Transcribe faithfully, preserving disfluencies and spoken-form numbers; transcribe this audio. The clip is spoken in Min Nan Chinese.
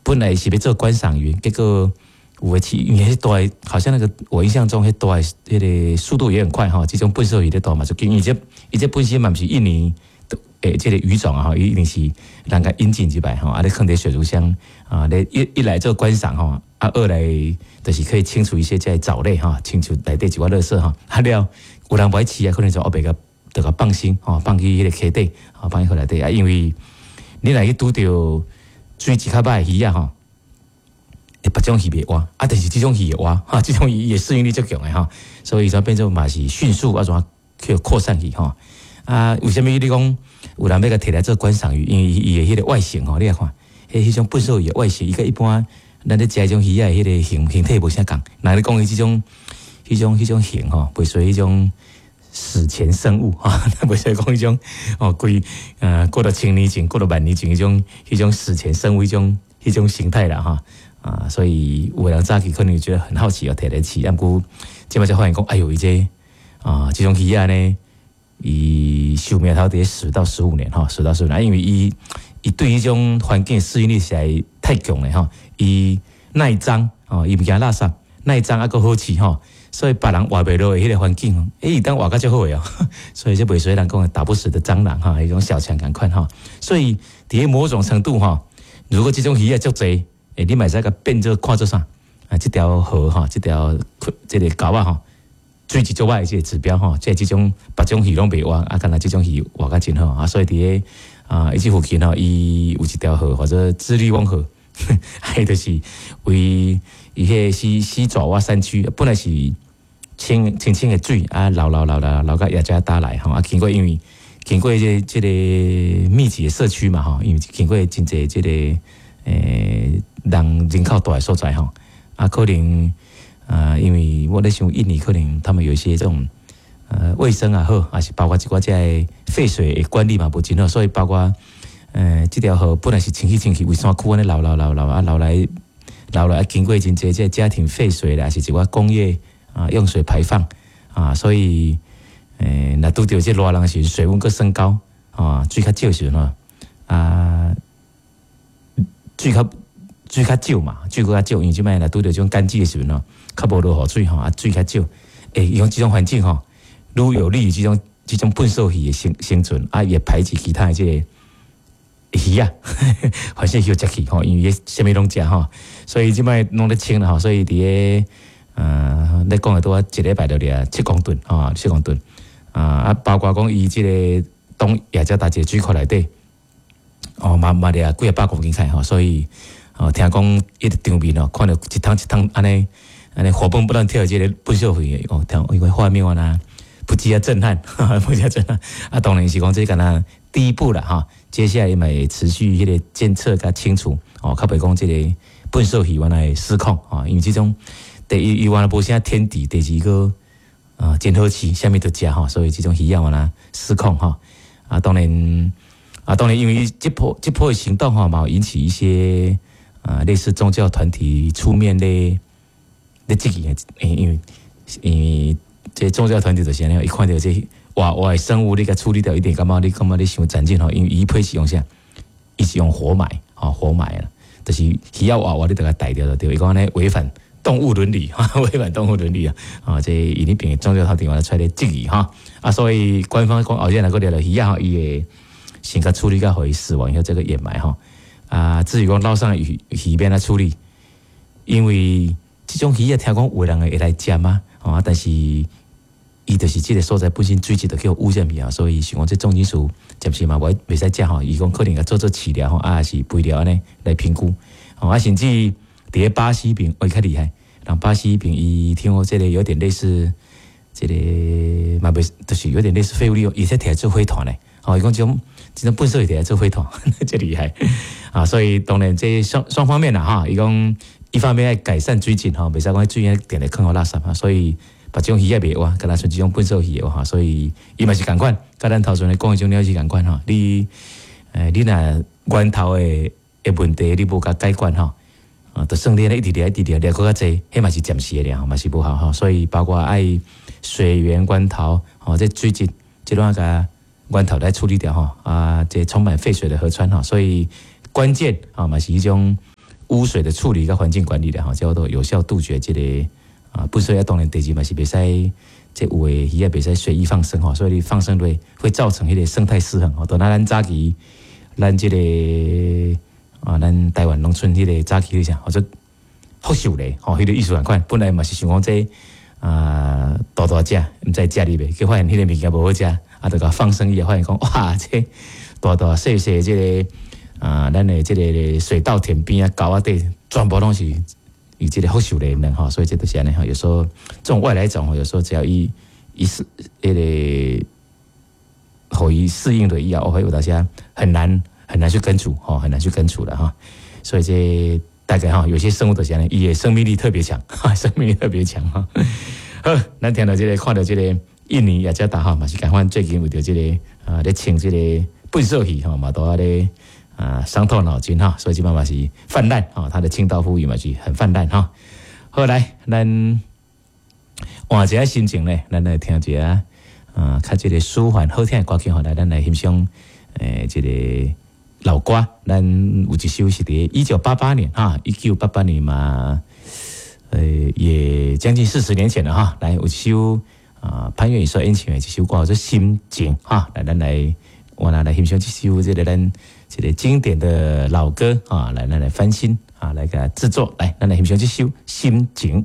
本來是欲做觀賞魚，結果有的飼，因為彼大，好像那個我印象中彼大彼个速度也很快吼，這種糞掃魚咧大嘛就緊，因為這伊這本身嘛毋是印尼的這個魚種啊吼，伊一定是人共引進入來吼，啊咧囥佇水族箱啊，咧一一來做觀賞吼，啊二來就是可以清除一些這藻類吼，清除內底一寡垃圾吼，啊了有人無愛飼啊，可能就後壁共就共放生吼，放去彼个溪底，吼放去河內底啊，因為你若去拄著水質較歹的魚仔吼，會別種魚袂活，啊，但是這種魚會活，哈，這種魚伊的適應力足強的吼，所以就變做嘛是迅速按怎去擴散去吼。啊，為啥物你講有人欲共提來做觀賞魚？因為伊的彼个外形吼，你來看，彼彼種糞掃魚的外形，伊佮一般咱咧食彼種魚仔的彼个形形體無啥仝。若你講伊這種、彼種、彼種形吼，袂屬於彼種史前生物哈，袂使講彼種哦，幾呃過了千年前、過了萬年前彼種、彼種史前生物彼種、彼種形態啦哈。啊，所以有的人早期可能覺得很好奇，哦，提來飼，毋過這擺才發現講，哎喲，伊這啊，這種魚仔呢，伊壽命頭佇十到十五年吼，十到十五年，因為伊伊對彼種環境適應力實在太強了吼，伊耐髒哦，伊毋驚垃圾，耐髒猶閣好飼吼，所以別人活袂落的彼个環境，欸，伊當活較足好的哦，所以這袂使人講打不死的蟑螂哈，彼種小強仝款吼，所以佇某種程度吼，如果這種魚仔足濟，欸，你嘛會使共變做看做啥？啊，這條河吼，這條這个溝仔吼，水質足歹的這个指標吼，這這種別種魚攏袂活，啊，干焦這種魚活較真好啊，所以佇个啊，伊這附近吼，伊有一條河，或者智利翁河，彼就是為伊彼个西西爪哇山區，本來是清清清的水啊，流流流流流到雅加達來吼，啊，經過因為經過這這个密集的社區嘛吼，因為經過真濟這个欸人人口大的所在吼，啊，可能啊，因為我咧想印尼可能他們有一些這種呃衛生也好，還是包括一寡這个廢水的管理嘛無真好，所以包括呃這條河本來是清氣清氣，為山區按呢流流流流啊流來流來啊，經過真濟這个家庭廢水啦，還是一寡工業啊用水排放啊，所以欸若拄著這熱人時，水溫閣升高啊，水較少時陣吼啊，水較水較少嘛，水閣較少，因為這擺若拄著這種乾季的時陣吼，較無落雨水吼，啊水較少，欸，用這種環境吼，愈有利於這種這種糞掃魚的生生存，啊，也排擠其他的這個魚仔，反正予食去吼，因為啥物攏食吼，所以這擺攏咧清啦吼，所以佇个呃，咧講的拄仔一禮拜就掠七公噸吼，七公噸啊啊，包括講伊這个東雅加達這個水庫內底，哦，嘛嘛掠幾仔百公斤菜吼，所以哦，聽講彼个場面哦，看著一桶一桶按呢按呢活蹦亂跳的這個糞掃魚哦，聽因為畫面啊，不止啊震撼，不止啊震撼啊，當然是講這敢若第一步啦哈，接下來嘛會持續彼个監測佮清除哦，較袂講這个糞掃魚原來失控啊，因為這種第一伊原來無啥天敵，第二個啊真好飼，啥物都食吼，所以這種魚仔原來失控吼啊，當然啊，當然因為這波這波的行動吼，嘛有引起一些啊類似宗教團體出面咧咧質疑，因為因為這宗教團體就是按呢，伊看著這活活的生物，你共處理掉，一定感覺你感覺你傷殘忍吼，因為伊彼是用啥？伊是用活埋，吼活埋啦，就是魚仔活活你著共刣掉就對，伊講按呢違反動物倫理，違反動物倫理啊！啊，這伊彼邊的宗教團體嘛出來質疑哈，啊，所以官方講後日若閣掠著魚仔吼，伊會先共處理到予伊死亡以後，這個掩埋吼。啊，至於講撈上魚魚欲按怎處理，因為這種魚仔聽講有人會來食嘛，啊，但是伊就是這个所在本身水質就叫污染去啊，所以想講這重金屬暫時嘛袂袂使食吼，伊講可能共做做飼料吼，啊是肥料按呢來評估，啊，甚至佇咧巴西邊，哦，較厲害，人巴西邊伊聽講這个有點類似這个嘛袂，就是有點類似廢物利用，伊會提來做火炭咧，哦，伊講這種這種糞掃會提來做火炭，這厲害啊！所以當然這雙雙方面啦哈，伊講一方面愛改善水質吼，袂使講水定定囥予垃圾啊，所以別種魚仔袂活，敢若像這種糞掃魚的話，所以伊嘛是仝款，佮咱頭前咧講彼種鳥是仝款吼。你欸，你若源頭的的問題你無共解決吼，啊，就算你按呢一直掠一直掠掠閣較濟，彼嘛是暫時的爾，嘛是無效吼。所以包括愛水源源頭吼，這水質這攏愛共源頭來處理掉吼，啊，這充滿廢水的河川吼，所以關鍵啊嘛是彼種污水的處理佮環境管理的吼，叫做有效杜絕這個啊，糞埽啊，當然第二嘛是袂使，這有的魚仔袂使隨意放生吼，所以你放生會會造成彼個生態失衡吼。就若咱早期咱這個啊，咱台灣農村彼個早期彼啥，或者福壽螺吼，彼個意思仝款，本來嘛是想講這啊大大隻，毋知食哩袂，結發現彼個物件無好食，啊，就共放生以後發現講哇，這大大細細這個啊，咱的這個水稻田邊啊，溝仔底全部攏是伊這個福壽螺卵吼，所以這就是按呢吼。有時候這種外來種吼，有時候只要伊伊適彼個予伊適應了以後，哦，有當時很難很難去根除吼，很難去根除了哈。所以這大概哈，有些生物就是按呢，伊的生命力特別強，生命力特別強哈。好，咱聽著這個，看著這個印尼雅加達哈，嘛是仝款最近為著這個啊，咧清這個糞埽魚吼，嘛都咧啊傷透腦筋哈，所以這擺嘛是泛濫哈，它的清道夫魚嘛是很泛濫哈。好來，咱換一下心情咧，咱來聽一下啊，較這個舒緩好聽的歌曲吼，來咱來欣賞誒這個老歌。咱有一首是佇一九八八年哈，一九八八年嘛，呃，也將近四十年前了哈。來，有一首啊，潘越雲所演唱的一首歌叫做《心情》哈，來咱來我來來欣賞這首這個咱這個經典的老歌啊，來咱來翻新啊，來共製作，來咱來欣賞這首《心情》。